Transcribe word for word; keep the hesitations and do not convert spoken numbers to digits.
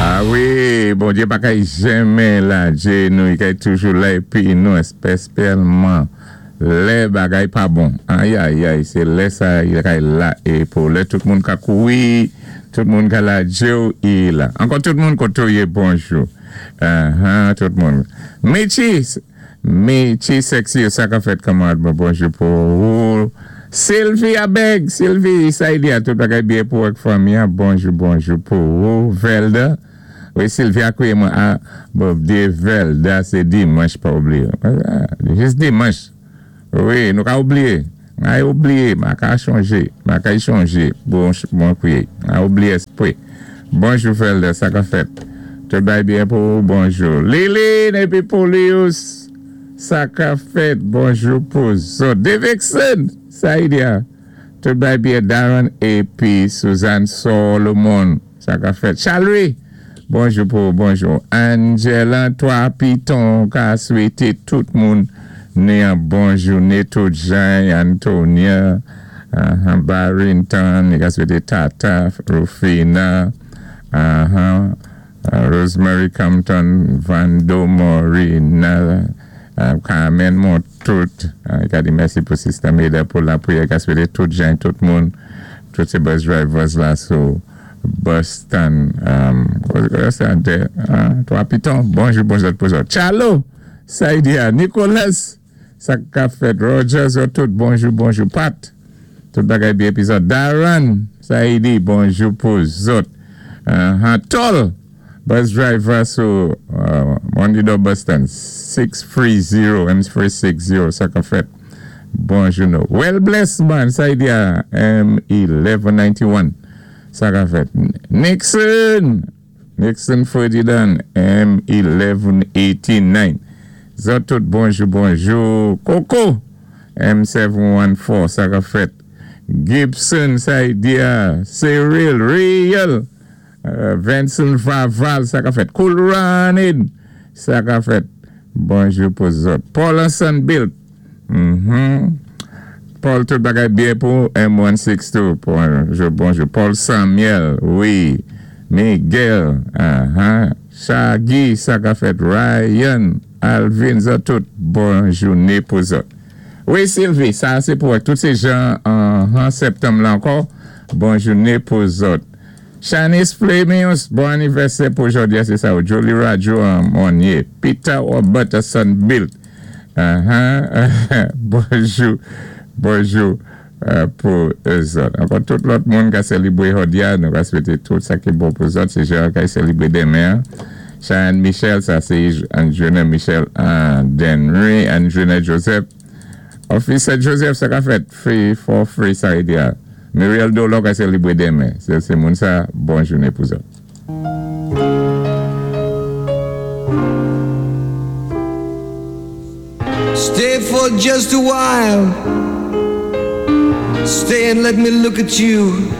A wi, Bondyé pa kay janmen lajé nou, i kay toujou la épi nou, espésyalman lè bagay pa bon. Ayayay, sé lè sa i kay la é pou lè tout moun ka kowi, tout moun ka lajé ou, i la. Ankò tout moun koto yé bonjou. Uh-huh, tout moun. Michi, Michi sexy, sa ka fèt kamarad mwen, bonjou pou ou. Sylvie Abeg, Sylvie, sa i di a tout bagay byen pou ak fanmi, bonjou, bonjou pou ou. Velda, wi, Sylvia kouwé mwen, a, bon, di Velda, sé dimanch pa oubliyé. Jis dimanch. Wi, nou ka oubliyé. A oubliyé, ma ka chanjé, ma ka chanjé, bon, bon kouwé. A oubliyé espwé. Bonjou Velda, sa ka fèt. Tout bagay byen pou ou, bonjou. Lili, épi Paulius, sa ka fèt, bonjou pou zòt. Davidson, sa i di a. Tout bagay byen Darren épi Suzanne Solomon, sa ka fèt. Charlie, bonjou pou, bonjou. Angela, Trois Pitons, ka swété tout moun ni an bon jouné, tout Jean, Antonia, uh, Barrington, i ka swété Tata, Rufina, uh-huh, uh, Rosemary Compton, Vando Morina, uh, Carmen Montout, uh, i ka di mèsi pou Sister Meda pou lapriyè, ka swété tout Jean, tout moun, tout sé bus drivers la sou bus stand, um, stand there, uh, Trois Pitons, bonjou, bonjou pou zòt. Chalo, sa i di a, Nicolas, sa ka fèt, Roger, zòt tout, bonjou, bonjou, Pat, tout bagay byen épi zòt. Darren, sa i di, bonjou pou zòt. Uh, Tol, bus driver sou uh, Mondido bus stand, six three zero, M three six zero, sa ka fèt. Bonjou nou. Well blessed man, sa i di a, M eleven ninety-one, sa ka fèt. Nixon, Nixon Ferdinand, M eleven eighty-nine. Zòt tout bonjou, bonjou. Coco, M seven one four, sa ka fèt. Gibson, sa i di a, Cyril, Real, uh, Vincent Vaval, sa ka fèt. Cool Running, sa ka fèt. Bonjou pou zòt. Paul Hassan Bill. Mm-hmm. Paul, tout bagay byen pou M one six two. Bonjou, bonjou. Paul Samuel, wi. Miguel, uh-huh. Shaggy, sa ka fèt. Ryan, Alvin, zòt tout. Bon jouné pou zòt. Wi, Sylvie, sa sé pou tout sé jan an septanm la ankò. Bon jouné pou zòt. Shanice Flamings, bon anivèsè pou jòdi, sé sa. Jolie Radio Monnier. Peter Robertson Bill. Uh-huh. Bonjou, bonjou pou zòt. Ankò tout lòt moun ka sélibwé jòdi a, nou ka swété tout sa ki bon pou zòt, sé jan ka sélibwé denmen. Cheyenne Michel, sa sé Anjuna Michel Denry, Anjuna Joseph. Officer Joseph, sa ka fèt, free for free, sa i di a. Muriel Dolo ka sélibwé denmen. Sé sé moun sa, bon jouné pou zòt. Stay for just a while. Stay and let me look at you.